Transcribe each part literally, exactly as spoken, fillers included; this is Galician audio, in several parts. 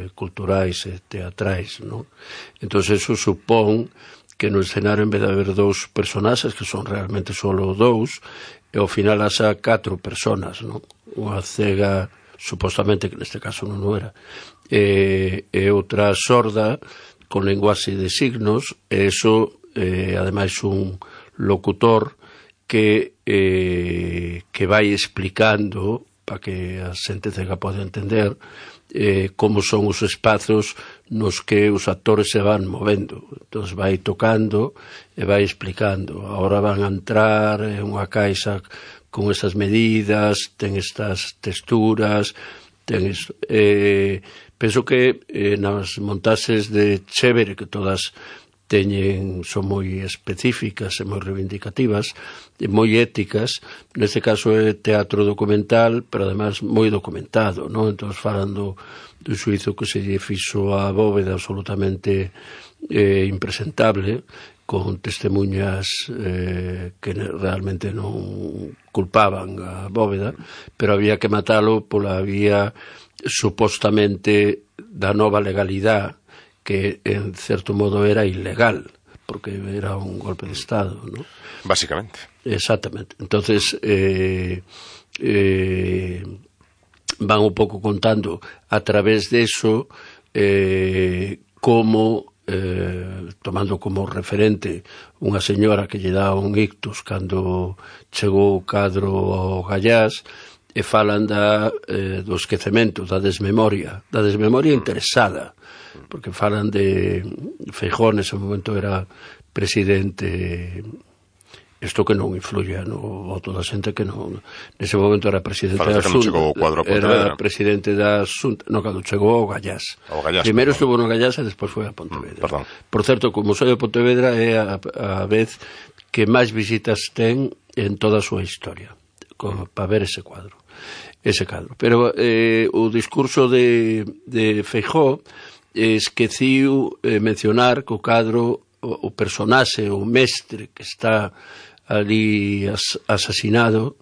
eh, culturais e teatrais, non? Entón, eso supón que no escenario, en vez de haber dous personaxes, que son realmente solo dous, e ao final haxa catro personas, non? Unha cega, supostamente, que neste caso non o era, e, e outra sorda, con lenguaxe de signos, e eso, eh, ademais, un locutor que eh, que vai explicando, para que a xente cega pode entender, eh, como son os espazos nos que os actores se van movendo. Entón vai tocando e vai explicando. Agora van a entrar en unha caixa con esas medidas, ten estas texturas, ten es, eh, penso que eh, nas montaxes de Chévere, que todas teñen, son moi específicas e moi reivindicativas e moi éticas. Neste caso é teatro documental, pero además moi documentado, non? Entón falan do, do xuizo que se lle fixo a Bóveda, absolutamente eh, impresentable, con testemunhas eh, que realmente non culpaban a Bóveda, pero había que matalo pola vía supostamente da nova legalidade, que en certo modo era ilegal, porque era un golpe de Estado, ¿no? Básicamente. Exactamente. Entonces, eh, eh, van un pouco contando a través de eso eh, como, eh, tomando como referente unha señora que lle dá un ictus cando chegou o cadro ao Gallás, e falan da, eh, do esquecemento, da desmemoria, da desmemoria interesada, porque falan de Feijóo, nese momento era presidente, isto que non influye no voto da xente, que non, nese momento era presidente da Xunta, era presidente da Xunta, non, cando chegou ao Gallás. Primeiro estuvo no Gallás e despois foi a Pontevedra. Mm, Por certo, como soy de Pontevedra, é a, a vez que máis visitas ten en toda a súa historia, para ver ese cuadro. ese cadro. Pero eh, o discurso de, de Feijóo esqueciu eh, mencionar que o cadro, o, o personaxe, o mestre que está ali as, asasinado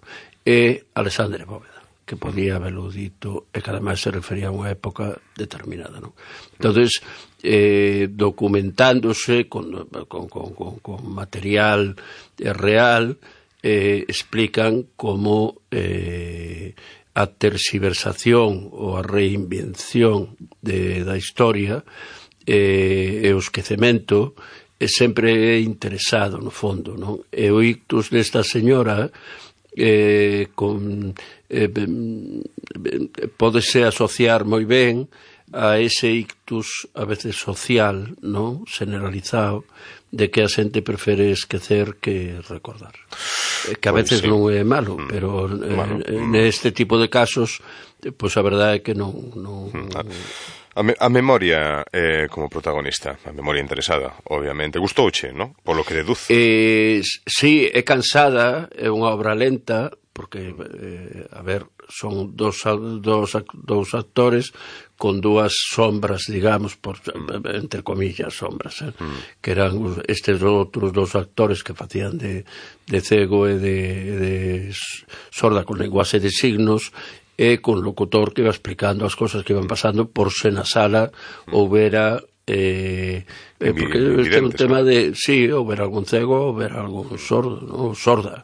é Alexandre Bóveda, que podía haberlo dito e que ademais se refería a unha época determinada, non? Entonces, eh, documentándose con, con, con, con, con material eh, real, eh, explican como eh, a terxiversación ou a reinvención de, da historia eh, e o esquecemento é sempre interesado no fondo, non? E o ictus desta señora eh, con, eh, pódese asociar moi ben a ese ictus a veces social, non? Generalizado, de que a xente prefere esquecer que recordar. Que a veces pues sí. non é malo, pero eh, bueno, neste tipo de casos, pois pues a verdade é que non... non... A, me, a memoria eh, como protagonista, a memoria interesada, obviamente. Gustouche, non? Polo que deduzo. Eh, sí, é cansada, é unha obra lenta, porque, eh, a ver, son dos, dos, dos actores con dúas sombras, digamos, por, entre comillas, sombras, eh? mm. que eran estes outros dos actores que facían de, de cego e de, de sorda con lenguaxe de signos, e con locutor que iba explicando as cosas que iban pasando por se na sala mm. houbera eh, eh, porque este é un tema de, sí, houbera algún cego, houbera algún sordo, no? sorda.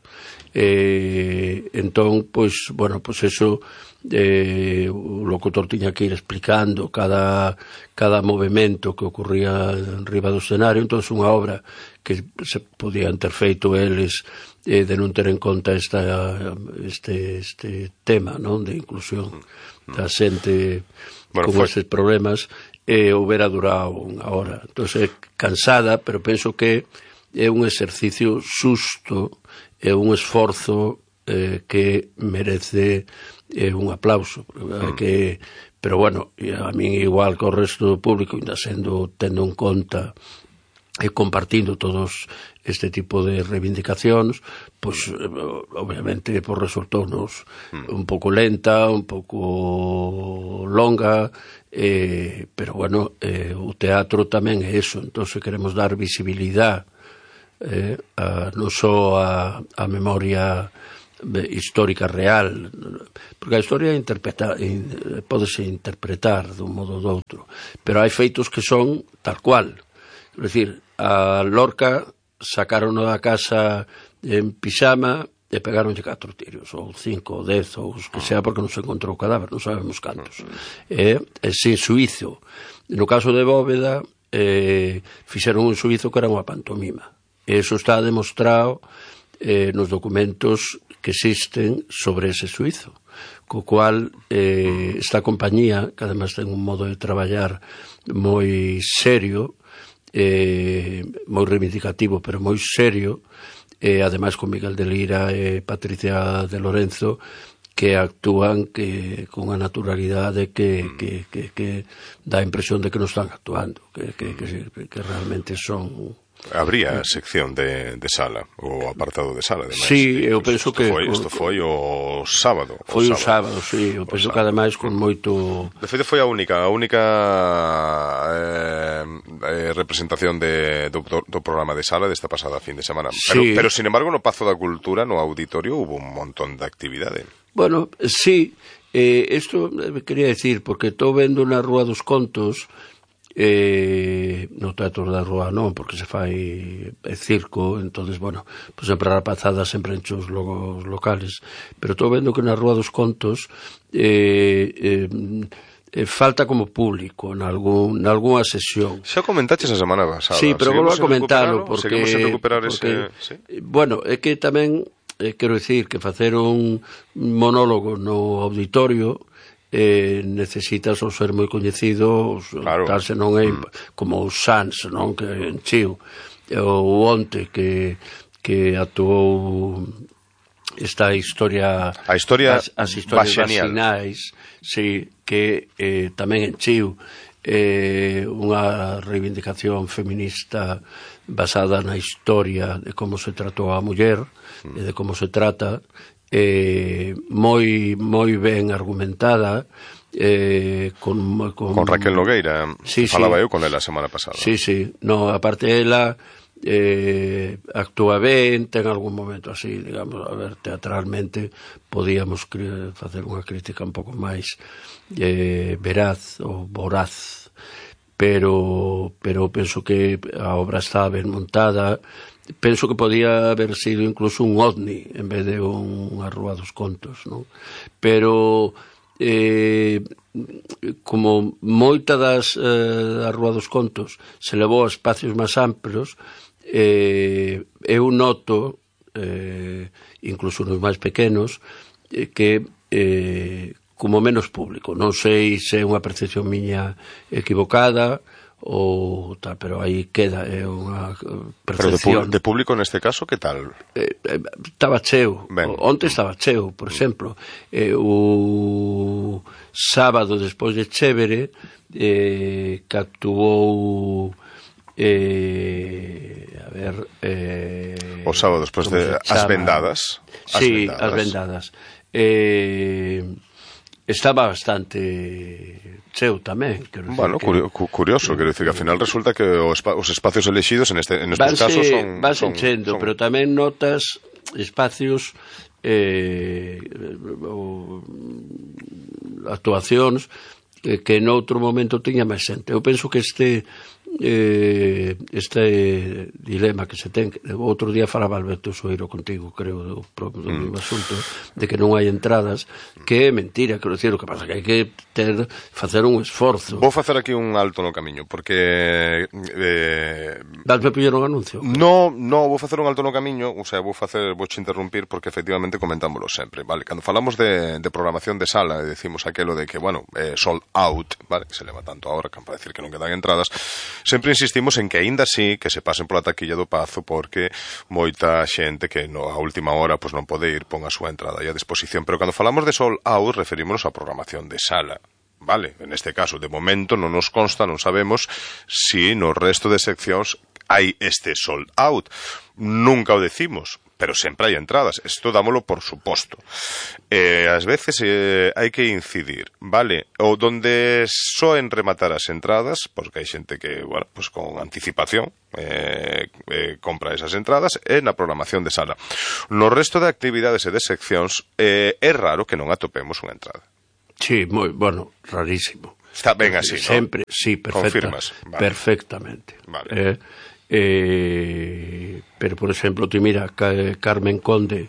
Eh, entón, pois, bueno, pois eso eh, o locutor tiña que ir explicando cada, cada movimento que ocurría en riba do escenario. Entón, unha obra que se podían ter feito eles eh, de non ter en conta esta, este, este tema, non, de inclusión da xente bueno, con estes problemas, e eh, houbera durado unha hora. Entón, é cansada, pero penso que é un exercicio susto, é un esforzo eh, que merece eh, un aplauso. Mm. Que, pero bueno, a min igual que o resto do público, ainda sendo tendo en conta e compartindo todos este tipo de reivindicacións, pois obviamente por resultounos mm. un pouco lenta, un pouco longa, eh, pero bueno, eh, o teatro tamén é eso. Entón, se queremos dar visibilidade Eh, a, non só a, a memoria histórica real, porque a historia interpreta, pódese interpretar dun modo ou do outro, pero hai feitos que son tal cual. É dicir, a Lorca sacaron da casa en pixama e pegaronlle catro tiros, ou cinco, ou dez, ou os que sea, porque non se encontrou o cadáver, non sabemos cantos. E, e sin suizo. No caso de Bóveda, eh, fixeron un suizo que era unha pantomima. E iso está demostrado eh, nos documentos que existen sobre ese suizo, co cual eh, esta compañía, que además ten un modo de traballar moi serio, eh, moi reivindicativo, pero moi serio, e ademais con Miguel de Lira e Patricia de Lorenzo, que actúan que con unha naturalidade que, que, que, que dá a impresión de que non están actuando, que, que, que, que realmente son... Habría sección de, de sala, o apartado de sala, ademais. Sí, eu penso que... Foi, isto foi o sábado. Foi o sábado, sí, eu penso que ademais con moito... De feito foi a única, a única eh, eh, representación de, do, do programa de sala desta pasada fin de semana. Pero, Sí. pero, sin embargo, no Pazo da Cultura, no auditorio, hubo un montón de actividade. Bueno, sí, eh, isto eh, quería decir, porque estou vendo na Rúa dos Contos, eh, no Teatro da Rúa non, porque se fai eh, circo, entonces, bueno, pues sempre a rapazada sempre enche os logos locales, pero estou vendo que na Rúa dos Contos eh, eh, eh, falta como público nalgún, nalgúna sesión. Xa comentaches a semana pasada. Sí, pero volvo a comentarlo porque, Seguimos en recuperar porque ese... ¿sí? Bueno, é que tamén eh, quero dicir que facer un monólogo no auditorio eh, necesitas ou ser moi coñecido, claro. Tal se non é mm. como o Sans, non, que enchiu, o Onte que que actuou esta historia, a historia as, as historias vacinais, sí, que eh, tamén enchiu eh, unha reivindicación feminista basada na historia de como se tratou a muller mm. e de como se trata, eh, moi moi ben argumentada, eh, con, con... con Raquel Nogueira, sí, falaba sí. eu con ela a semana pasada. Sí, sí, no, aparte ela eh, actúa ben, ten algún momento así, digamos, a ver, teatralmente podíamos facer unha crítica un pouco máis eh, veraz ou voraz, pero pero penso que a obra está ben montada. Penso que podía haber sido incluso un ovni en vez de unha Rúa dos Contos, non? Pero eh, como moita das eh, da Rúa dos Contos se levou a espacios máis amplos, eh, eu noto eh, incluso nos máis pequenos eh, que eh, como menos público, non sei se é unha percepción miña equivocada ou tal, pero aí queda, é unha percepción. Pero de, de público neste caso, que tal? Eh, eh, estaba cheo, ben. Onte estaba cheo, por exemplo, eh, o sábado despois de Chévere, eh, que actuou eh, a ver eh, o sábado despois de As Vendadas. As sí, vendadas. As Vendadas eh, estaba bastante cheo tamén, quero dicir. Bueno, que, curioso, quero dicir que ao final resulta que os, os espacios elexidos en este en estes vanse, casos son vas son, enchendo, son... pero tamén notas espacios eh, o, actuacións eh, que noutro momento tiña máis xente. Eu penso que este eh, este dilema que se ten, outro día falaba Alberto Soeiro contigo, creo, do, do mm. mesmo asunto, de que non hai entradas, que é mentira, quero dicir, o que pasa que hai que ter, facer un esforzo. Vou facer aquí un alto no camiño, porque eh, Dasme puller un anuncio? No, no, vou facer un alto no camiño, o sea, vou facer, vou che interrumpir porque efectivamente comentámoslo sempre, vale? Cando falamos de, de programación de sala, e decimos aquelo de que, bueno, eh, sold out, vale? Que se leva tanto ahora, que para decir que non quedan entradas, sempre insistimos en que aínda así que se pasen pola taquilla do Pazo, porque moita xente que no, a última hora pues, non pode ir, pon a súa entrada aí a disposición, pero cando falamos de sold out referímonos á programación de sala. Vale, en este caso, de momento non nos consta, non sabemos si no resto de seccións hai este sold out. Nunca o decimos, pero sempre hai entradas, isto dámolo por suposto. Eh, ás veces eh, hai que incidir, vale, ou donde soen rematar as entradas, porque hai xente que, bueno, pues con anticipación eh, eh, compra esas entradas, e na programación de sala. No resto de actividades e de seccións eh, é raro que non atopemos unha entrada. Sí, moi, bueno, rarísimo. Está ben así, ¿no? Sempre, sí, perfecta, confirmas, vale. Perfectamente. Vale. Eh, eh, pero, por exemplo, ti mira, Carmen Conde,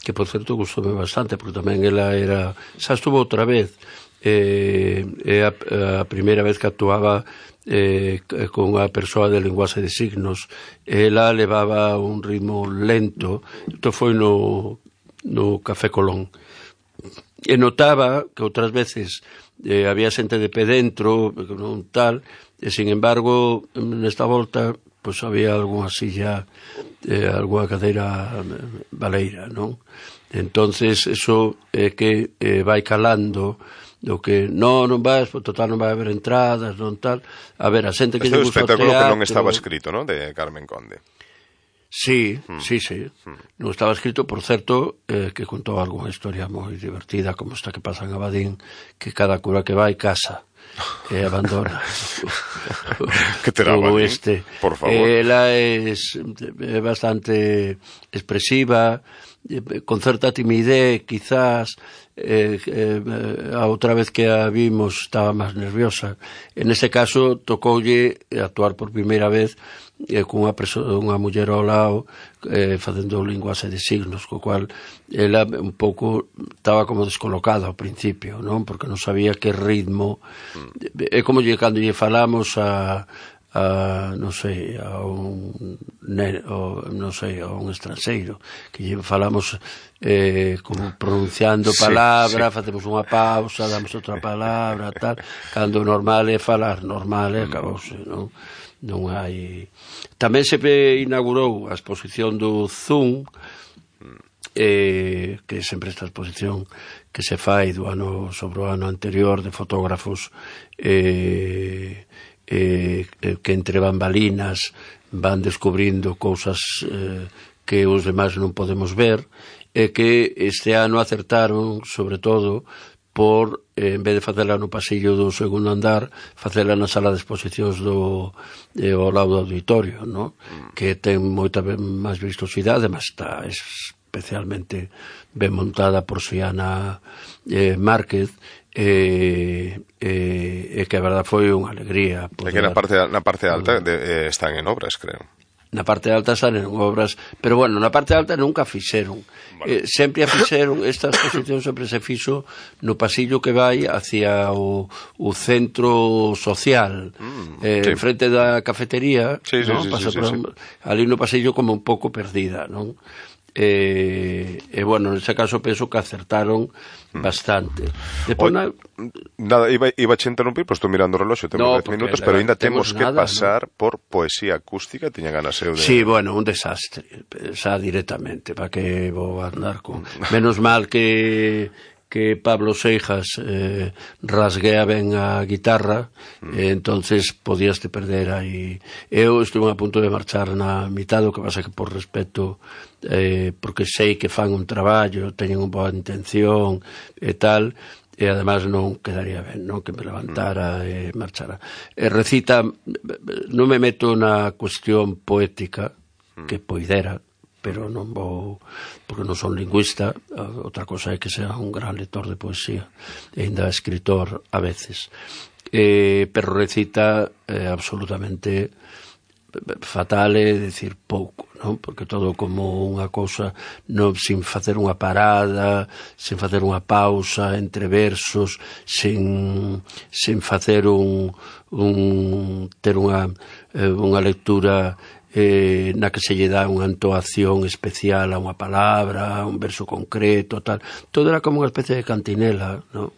que, por certo, gustoume bastante, porque tamén ela era... Xa estuvo outra vez, eh, é a, a primeira vez que actuaba eh, con unha persoa de linguaxe de signos. Ela levaba un ritmo lento, isto foi no, no Café Colón. E notaba que outras veces eh, había xente de pé dentro, non tal, e, sin embargo, nesta volta, pois había algunha silla, eh, algunha cadeira baleira, non? Entonces, eso é que eh, vai calando do que non, non vas, total non vai haber entradas, non tal. A ver, a xente que lle gusta o teatro... Este é o espectáculo que non estaba escrito, non? De Carmen Conde. Sí, mm. sí, sí. Mm. Non estaba escrito, por certo, eh, que contou algunha historia moi divertida, como esta que pasa en Abadín, que cada cura que vai casa e abandona que terá Abadín, este. Por favor. Ela é, é bastante expresiva, con certa timidez, quizás. Eh, eh, a outra vez que a vimos estaba máis nerviosa. En ese caso tocoulle actuar por primeira vez eh, cunha unha muller ao lado eh, facendo linguaxe de signos, co cual ela un pouco estaba como descolocada ao principio, non? Porque non sabía que ritmo mm. é como lle, cando lle falamos a a, non sei, a un o, non sei, a un estranxeiro que lle falamos eh, como pronunciando palabra, sí, sí. Facemos unha pausa, damos outra palabra, tal, cando normal é falar normal e acabouse, non? Non hai... Tamén se inaugurou a exposición do Zoom, eh, que é sempre esta exposición que se fai do ano sobre o ano anterior de fotógrafos eh, eh, que entre bambalinas van descubrindo cousas eh, que os demais non podemos ver, e que este ano acertaron, sobre todo, por, eh, en vez de facela no pasillo do segundo andar, facela na sala de exposicións do eh, ao lado do auditorio, no? Que ten moita máis vistosidade, mas está especialmente ben montada por Xiana eh, Márquez, e eh, eh, que a verdad foi unha alegría poder... É que na parte, na parte alta de, eh, están en obras, creo. Na parte alta están en obras, pero bueno, na parte alta nunca fixeron. Vale. Eh, sempre a fixeron, esta exposición sempre se fixo no pasillo que vai hacia o, o centro social, mm, eh, sí. Frente da cafetería, sí, sí, ¿no? Sí, Pasa sí, por, sí, sí. Ali no pasillo como un pouco perdida, non? E, e bueno, nese caso penso que acertaron bastante. Depois, na... Nada, iba, iba a interrumpir, pois estou mirando o reloxo, temos no, dez minutos, pero ainda temos que nada, pasar ¿no? por poesía acústica, tiña ganas eu de... Sí, bueno, un desastre, xa directamente, para que vou andar con... Menos mal que... que Pablo Seijas eh, rasguea ben a guitarra, mm. e entonces podías te perder aí. Eu estuve a punto de marchar na mitad, o que pasa que por respeto, eh, porque sei que fan un traballo, teñen unha boa intención e tal, e además non quedaría ben, non? Que me levantara e marchara. E recita, non me meto na cuestión poética, que poidera, pero non vou, porque non son lingüista. Outra cosa é que sea un gran lector de poesía, e ainda escritor a veces, eh, pero recita eh, absolutamente fatal, é dicir pouco, non? Porque todo como unha cousa, non, sin facer unha parada, sin facer unha pausa entre versos, sin, sin facer un, un ter unha, eh, unha lectura Eh, na que se lle dá unha entoación especial a unha palabra, a un verso concreto, tal. Todo era como unha especie de cantinela, non?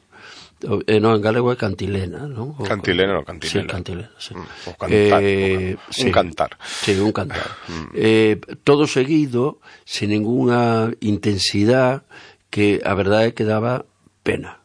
Eh, non, en galego é cantilena, non? O, cantilena ou cantinela. Sí, cantilena, sí. Mm, o cantar, eh, o, sí, un cantar. Sí, un cantar. mm. eh, todo seguido, sin ninguna intensidade, que a verdade é que daba pena.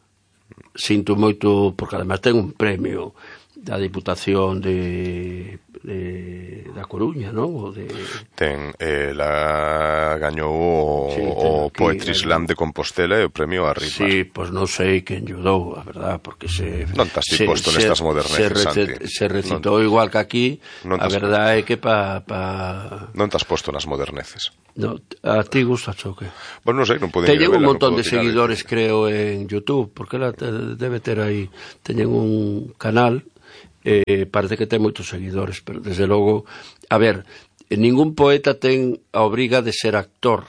Sinto moito, porque además ten un premio da Diputación de de da Coruña, non? O de... Ten, ela gañou o, sí, o aquí, Poetry Slam de Compostela e o premio Arriba. Sí, pois pues non sei quen lle dou, a verdad, porque se... Non estás ti posto nestas moderneces, se, Santi. Se recitou non, igual que aquí, a verdade é que pa... pa... Non estás posto nas moderneces. No, a ti gusta choque. Bueno, non sei, non poden teñen un montón de seguidores, creo, en YouTube, porque ela debe ter aí, teñen un canal, eh, parece que ten moitos seguidores, pero desde logo, a ver, ningún poeta ten a obriga de ser actor,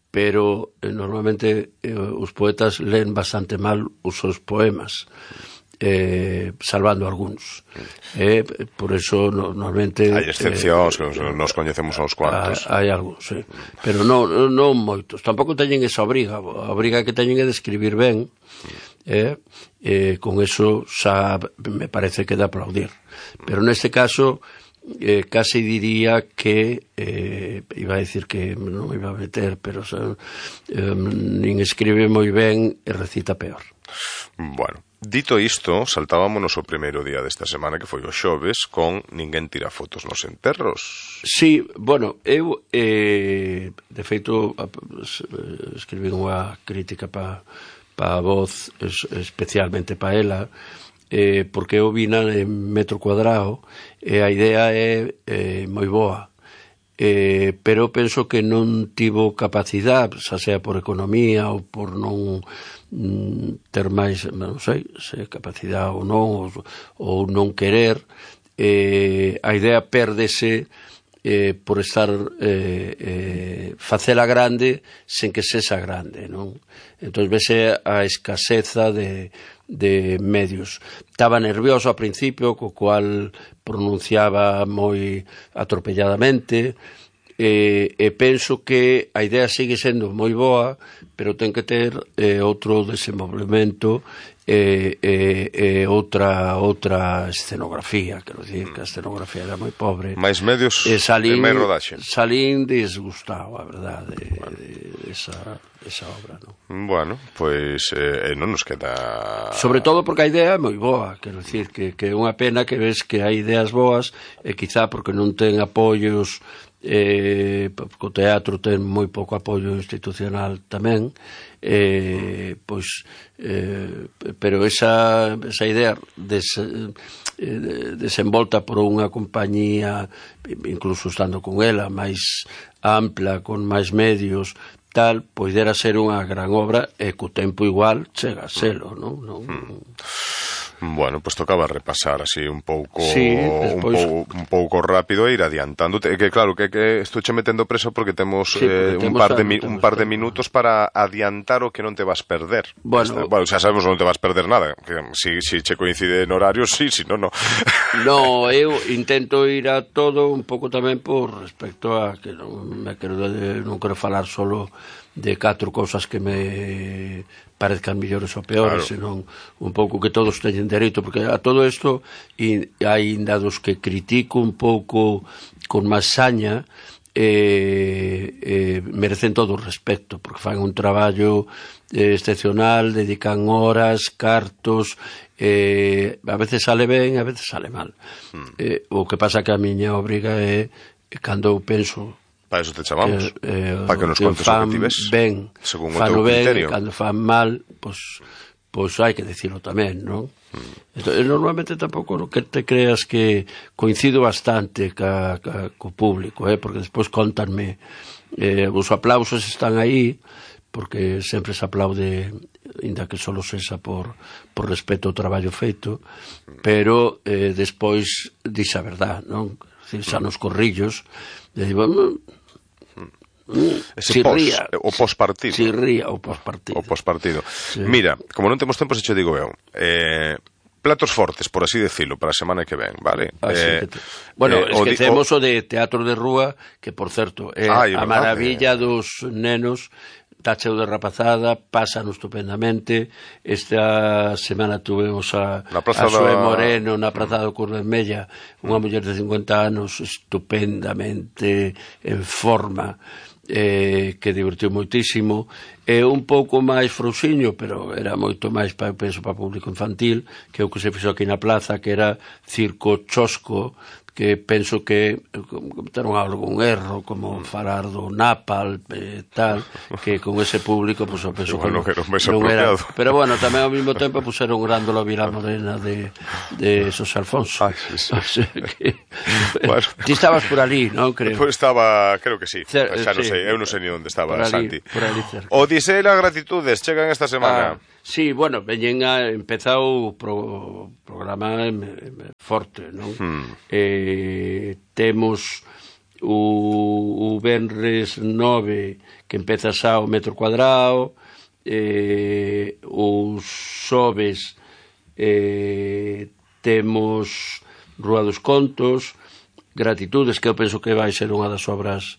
pero eh, normalmente eh, os poetas leen bastante mal os seus poemas, eh, salvando algúns. Eh, por eso no, normalmente... Hai excepcións, eh, nos coñecemos uns cuantos. Hai algúns, sí. Pero non, non moitos. Tampouco teñen esa obriga. A obriga que teñen é de escribir ben, eh, eh, con eso xa me parece que dá aplaudir. Pero neste caso... Eh, casi diría que eh, iba a decir que non iba a meter, pero o eh, nin escribe moi ben e recita peor. Bueno, dito isto, saltábamos o primeiro día desta semana, que foi o xoves, con Ninguén tira fotos nos enterros. Sí, bueno, eu eh, de feito escribí unha crítica para pa a Voz, especialmente para ela, eh, porque eu vina en metro cuadrado e a idea é eh, moi boa, eh, pero penso que non tivo capacidade, xa sea por economía ou por non mm, ter máis, non sei, se capacidade ou non, ou, ou non querer, eh, a idea pérdese eh, por estar eh, eh, facela grande sen que sexa grande, non? Entón vese a escaseza de de medios. Estaba nervioso ao principio, co cual pronunciaba moi atropelladamente, e, e penso que a idea sigue sendo moi boa, pero ten que ter eh, outro desenvolvemento e, e, e outra outra escenografía, quero dicir que a escenografía era moi pobre. Mais medios e, salín, e máis rodaxe. Salín disgustado, a verdade, de, bueno. de, de esa... esa obra, non? Bueno, pois eh, non nos queda... Sobre todo porque a idea é moi boa, quero dicir que, que é unha pena que ves que hai ideas boas e quizá porque non ten apoios, eh, o teatro ten moi pouco apoio institucional tamén, eh, pois eh, pero esa, esa idea des, eh, desenvolta por unha compañía, incluso estando con ela, máis ampla, con máis medios, tal, poidera ser unha gran obra e co tempo igual chega a selo, non? non... Bueno, pois pues tocaba repasar así un pouco sí, despois... un, pou, un pouco rápido e ir adiantando, que claro, que, que estou che metendo preso porque temos, sí, porque eh, temos un par de mi, un par de minutos para adiantar o que non te vas perder. Bueno, Esta, bueno, xa sabemos que non te vas perder nada, que si, si che coincide en horario, sí, si non, non. No, eu intento ir a todo un pouco tamén por respecto a que non me quero non quero falar solo de catro cousas que me parezcan millores ou peores, claro, senón un pouco que todos teñen dereito, porque a todo isto e hai dados que critico un pouco con máis saña, eh, eh, merecen todo o respecto, porque fan un traballo eh, excepcional, dedican horas, cartos, eh, a veces sale ben, a veces sale mal. Mm. Eh, o que pasa que a miña obriga é, cando eu penso para eso te chamamos, que, eh, para que nos contes o que ti ves ben, según o teu criterio. Ben, cando fan mal, pois pues, pues hai que dicilo tamén, non? Mm. Entonces, normalmente tampouco no que te creas que coincido bastante ca, ca, co público, eh? Porque despois contanme, eh, os aplausos están aí, porque sempre se aplaude, inda que solo sexa por, por respeto ao traballo feito, pero eh, despois dixe a verdad, non? Xa nos corrillos, e digo, ese pos, o pospartido. Si ría o pospartido. O pospartido. Sí. Mira, como non temos tempo, se che digo eu, eh, platos fortes, por así decirlo, para a semana que ven, vale? Eh, te... Bueno, eh, esquecemos o, di... o de teatro de rúa, que, por certo, é ah, a maravilla eh... dos nenos, tacheu de rapazada, pasan estupendamente. Esta semana tuvemos a, a Zoe Moreno na Praza do Cor Vermella, unha muller de cincuenta anos estupendamente en forma, eh, que divertiu moitísimo, e un pouco máis frouxiño, pero era moito máis, para, penso, para público infantil, que o que se fixo aquí na plaza, que era Circo Chosco, que penso que cometeron algún erro, como falar do Napalm e tal, que con ese público, pues, eu penso bueno, que non, non era... Pero bueno, tamén ao mesmo tempo puseron Grándola Vila Morena de, de Xosé Alfonso. Ay, sí, sí. O sea que... Bueno. Ti estabas por ali, non, creo? Pues estaba, creo que sí. Cer Xa non sí. sei, eu non sei ni onde estaba por ali, Santi. por ali cerca. Odisea e gratitudes chegan esta semana. Ah, sí, bueno, veñen a empezar o pro, programa forte, non? Hmm. Eh, temos o, o Venres nove que empeza xa o metro cuadrado, eh, os xoves eh, temos Rúa dos Contos, Gratitudes, que eu penso que vai ser unha das obras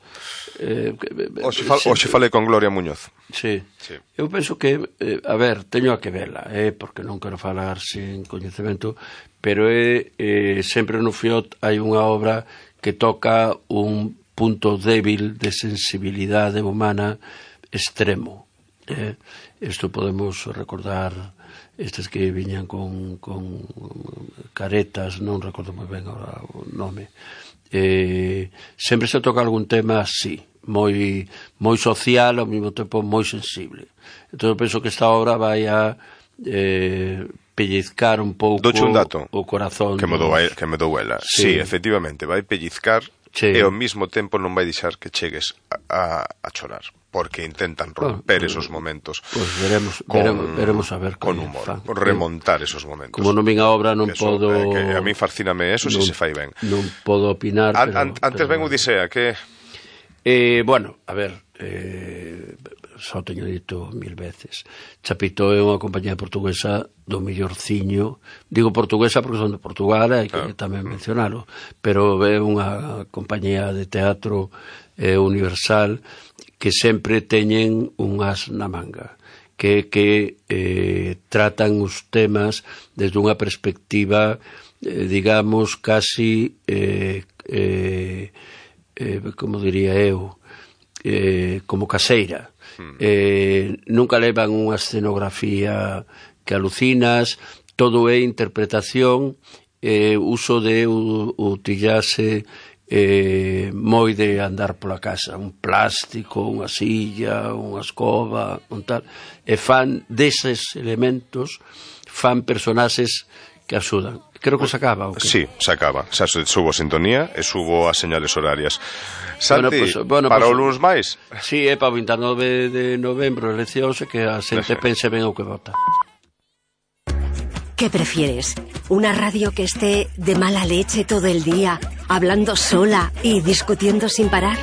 eh, Oxe, fal, oxe falei con Gloria Muñoz. Sí. sí. Eu penso que, eh, a ver, teño a que vela, eh, porque non quero falar sin coñecemento, pero é, eh, sempre no Fiot hai unha obra que toca un punto débil de sensibilidade humana extremo. Eh? Isto podemos recordar estes que viñan con, con caretas, non recordo moi ben agora o nome. Eh, sempre se toca algún tema así, moi moi social, ao mesmo tempo moi sensible. Entón eu penso que esta obra vai a eh, pellizcar un pouco un dato o corazón que me dou, que me dou ela. Sí. sí, efectivamente, vai pellizcar sí. e ao mesmo tempo non vai deixar que chegues a, a, a chorar, porque intentan romper bueno, esos momentos. Pois pues veremos, con, veremos, veremos a ver con humor, fan. remontar esos momentos. Como non vin a obra non eso, podo... Eh, que a mí fascíname eso non, se si se fai ben. Non podo opinar, an, pero... An, antes pero, ven Odisea, que... Eh, bueno, a ver, eh, só teño dito mil veces. Chapito é unha compañía portuguesa do mellorciño. Digo portuguesa porque son de Portugal, hai que ah. tamén mencionalo, pero é unha compañía de teatro eh, universal que sempre teñen un as na manga, que, que eh, tratan os temas desde unha perspectiva, eh, digamos, casi... Eh, eh, Eh, como diría eu, eh, como caseira. Eh, nunca levan unha escenografía que alucinas, todo é interpretación, eh, uso de utillarse eh, moi de andar pola casa, un plástico, unha silla, unha escoba, un tal, e fan deses elementos, fan personaxes que axudan. Creo que se acaba, ¿o qué? Sí, se acaba. Xa subo a sintonía e subo as señales horarias. Santi, bueno, pues, bueno, para pues, o luns máis? Sí, é para o veintinueve de novembro, eleccións, que a xente pense ben o que vota. ¿Qué prefieres? ¿Una radio que esté de mala leche todo el día, hablando sola y discutiendo sin parar?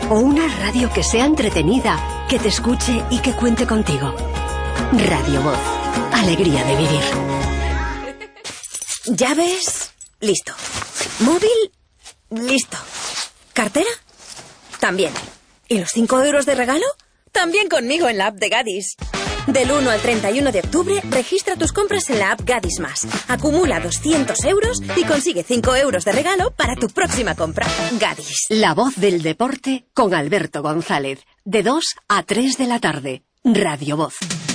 ¿O una radio que sea entretenida, que te escuche y que cuente contigo? Radio Voz. Alegría de vivir. ¿Llaves? Listo. ¿Móvil? Listo. ¿Cartera? También. ¿Y los cinco euros de regalo? También conmigo en la app de Gadis. Del uno al treinta y uno de octubre, registra tus compras en la app Gadis Más. Acumula doscientos euros y consigue cinco euros de regalo para tu próxima compra. Gadis. La voz del deporte con Alberto González. De dos a tres de la tarde. Radio Voz.